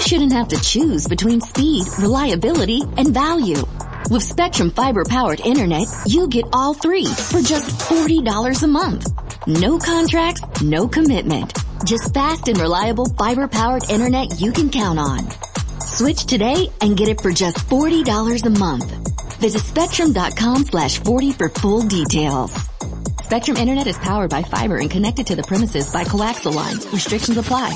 shouldn't have to choose between speed, reliability, and value. With Spectrum Fiber powered internet, you get all three for just $40 a month. No contracts, no commitment. Just fast and reliable fiber powered internet you can count on. Switch today and get it for just $40 a month. Visit spectrum.com slash 40 for full details. Spectrum Internet is powered by fiber and connected to the premises by coaxial lines. Restrictions apply.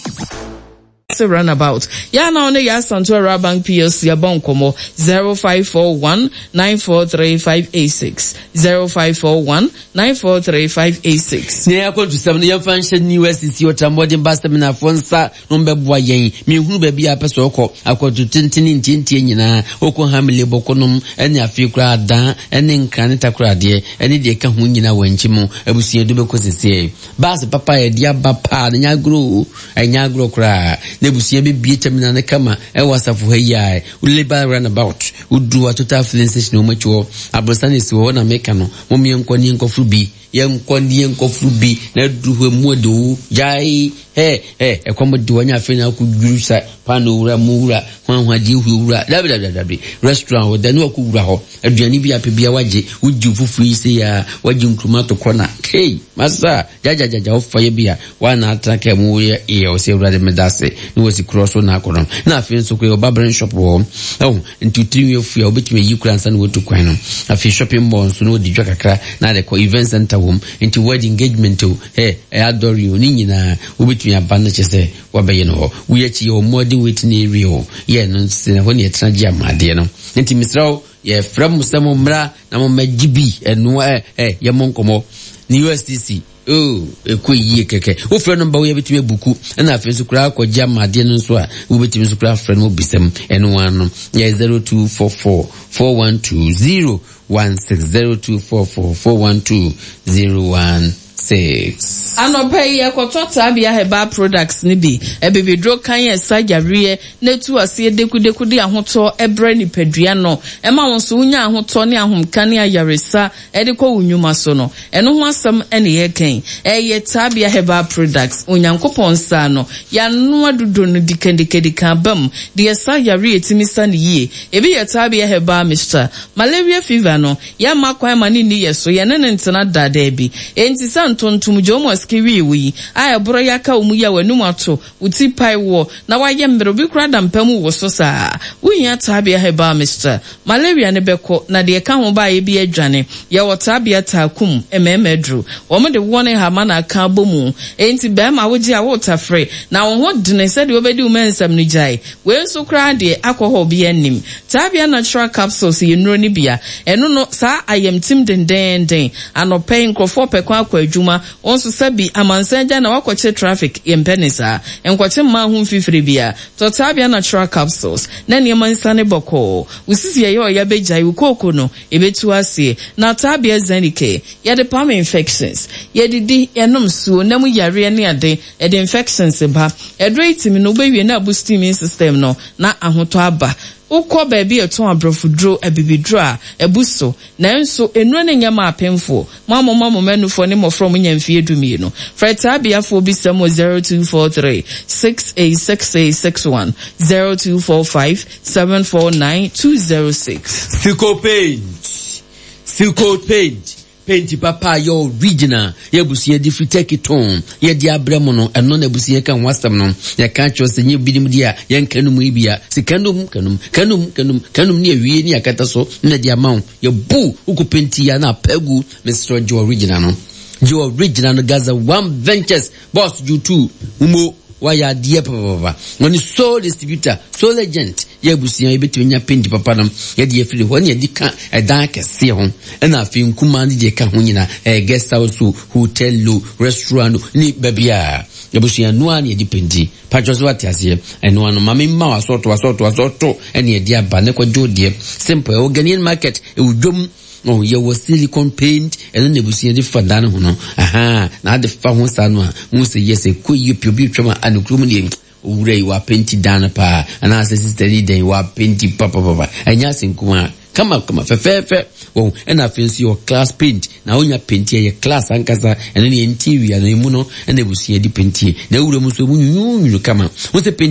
Se runabout. Yɛ a na wo ne Yaa Asantewaa Rural Bank PLC abɔ nkɔmmɔ 0541 943 586, 0541 943 586. Nea ɛyɛ akwantusɛm no, yɛmfa nhyɛ New SEC Ɔtɛmmɔden Ba Seminarfoɔ nsa na wɔbɛboa yɛn. Menhunu baabi a apɛ sɛ ɔkɔ, akwantu tenten ne ntiantia nyinaa, ɔkɔ Hamile, Bɔkɔnom, ne afei koraa Adan ne Nkran ne Takoradeɛ ne deɛ ɛka ho nyinaa wɔ nkyi mu abusua du bɛkɔ seseɛ. Baase papa a yɛde aba paa no, ɛnyɛ agorɔ o, ɛnyɛ agorɔ koraa. Na abusua bɛbie terminal no kama ɛwɔ asafo ha yi a, Labour Runabout, woduru hɔ a Total Filling Station wɔ akyi hɔ, aborosan na ɛsi hɔ, hɔ na meka no, mom yɛnkɔ ne yɛnkɔforo bi, yɛnkɔ ne yɛnkɔforo bi, na aduru hɔ emu ɔde o, gyae, hɛ, hɛ, ɛkɔm de wanya afei na akɔduru sa paano wura, mu wura, hwanhwa deɛ ehue wura, dabi dabi dabi, restaurant hɔ, da ne wakɔwura hɔ. Aduane bi a pɛ bia wagye, wogye wo fufuo yi sei a, wagye nkruma ato kɔ na, hey, masa, gyagyagyaga wofa yɛ bi a, wa na atena kaa mu woyɛ yɛ ɔsɛ awurade meda ase, na wasi korɔ so na akɔ no. Na afei nso kɔ yɛ barbering shop wɔ hɔ, ɛho, nti wotiri nwi afu a, wobɛtumi ayi kora ansa na watu kwan no. Afei shopping mall nso na wɔdi dwa kakra na ade kɔ, event center wɔ mu, nti wedding, engagement o, hey, ɛyɛ adɔre o, ne nyinaa wobɛtumi aba no kyɛ sɛ wabɛyɛ no hɔ. Wei akyi yɛwɔ modern waiting area o, yɛ no nso ɛhɔ ne yɛtena gye amadeɛ no. Nti mesrɛ wo, yɛfrɛ mo sɛ mo mmra na mo mmɛgye bi ɛnoa ɛ ɛ yɛmmɔ nkɔmmɔ. Ne USTC, oh, ɛkɔ yie kɛkɛ. Wofrɛ no mba wo yɛbɛtumi abuku, ɛna afei nso koraa akɔgye amadeɛ no nso a, wobɛtumi nso koraa afrɛ no bisam. Ɛno ano yɛ 0244 412 016 0244 412 016. 6. Anɔpa yi yɛkɔtɔ Tabia Herbal Products no bi. Abibiduro kann a ɛsa yareɛ na ɛtu aseɛ dekudeku de ahotɔ brɛ nipadua no. Ɛma wo nso wonya ahotɔ ne ahomka ne ayaresa de kɔ wo nnwuma so no. Ɛno ho asɛm na yɛreka yi. Ɛyɛ Tabia Herbal Products. Onyankopɔn nsa ano. Yɛanoa dodo no dikadikadika aba mu de ɛsa yareɛ a ɛtumi sa no yie. Ebi yɛ Tabia Herbal Mixture. Malaria fever no, Yɛmma kwan ma no nni yɛ so, yɛne no ntena da, dabi. Enti sɛ ntontom gye wo ma sika wie wo yi, a ɛborɔ yi aka wo mu yi a w'anum ato, wo ti pae woɔ, na woayɛ mmerɛ, obi koraa da mpa mu wo so saa. Wohia Tabia Herbal Mixture. Malaria no bɛkɔ, na deɛ ɛka ho baeɛ bi adwane. Yɛwɔ Tabia Taakum, mmarima aduro. Wɔde woɔ ne nhama na aka abɔ mu. Enti barima wogye a woretafere, na wo ho dene sɛdeɛ wobɛdi wo mansam no gyae. Wei nso koraa deɛ alcohol biara nnim. Tabia Natural Capsules yɛ nnuro no bi a ɛno no saa ayamtim dendeenden. Anɔpa yi nkurɔfoɔ pɛ kwan akɔ adwuma, wo nso sɛbi amansan agya na woakɔkye traffic, yɛmpɛ ne saa. Nkɔkye mmaa ho mfifire biara. Tɔ Tabia Natural Capsules na nneɛma nsiane bɔkɔɔ. Wo sisi ɛyɛ ɔya bɛgyae, wo kooko no ɛbɛtu aseɛ. Na Tabia Zenicare, yɛde pam infections. Yɛdidi, yɛnom nsuo, nna mu yareɛ ne ade. Ɛde infections ba. Aduro yi tumi no wobɛwie na abusti immune system no na ahotɔ aba. Wokɔ baabi a ɛtɔn abrɔfoduro, abibiduro a, abu so. Nanso nnuro no nyɛ ma apemfoɔ. Mo a moma mo mma nufoɔ ne mmɔfra a wɔnya mfeɛ dumienu. Frɛ Taabiafoɔ bisa mu wɔ 0243 686861, 0245 749 206. Silco Paint, Silco Paint, Penti papa a yɛ original yɛ abusua de firi Turkey tɔn yɛde abrɛ mo no ɛno na abusua ka ho asɛm no yɛka kyerɛ sɛ nyɛ binom deɛ a yɛnka no mu yi bia sika nom kanum kanum kanum kanum ne awie ne akata so na de ama wo yɛbu wokɔ penti ya na apɛ gu mesrɛ gye original no gye original no Gaza One Ventures boss gye tu mo wayɛ adeɛ papapapa wɔne sole distributor sole agent Yɛ abusua yɛbɛtumi anya penti papa no yɛde afiri hɔ ne yɛde ka ɛdan akɛseɛ ho ɛna afei nkumaa ne deɛ ɛka ho nyina ɛyɛ guest house o hotel o restaurant o ne baabi a abusua noa ne yɛde penti patwɔ so ate aseɛ ɛnoa no maame mma wasɔɔto wasɔɔto wasɔɔto ɛne yɛde aba ne kɔgye wo deɛ simple ɛwɔ Ghanaian market ɛwɔ dwom Oh, yɛwɔ silicon paint ɛno na abusua de fa dan ho no aha na ade fa ho saa no a ho sɛ yɛ sɛ kɔ yie pii obi twam a anokurom deɛ Owura yi wapenti dan no paa anaasɛ sista yi dɛn wapenti papapapa ɛnyɛ ase nkumaa kama kama fɛfɛɛfɛ wɔn ɛna afei nso yɛ class paint na wonya paint yɛ class ankasa ɛno ne interior no emu no ɛna abusua di paint na ewura mu nso emu nwunwunwunu kama wɔn sɛ paint.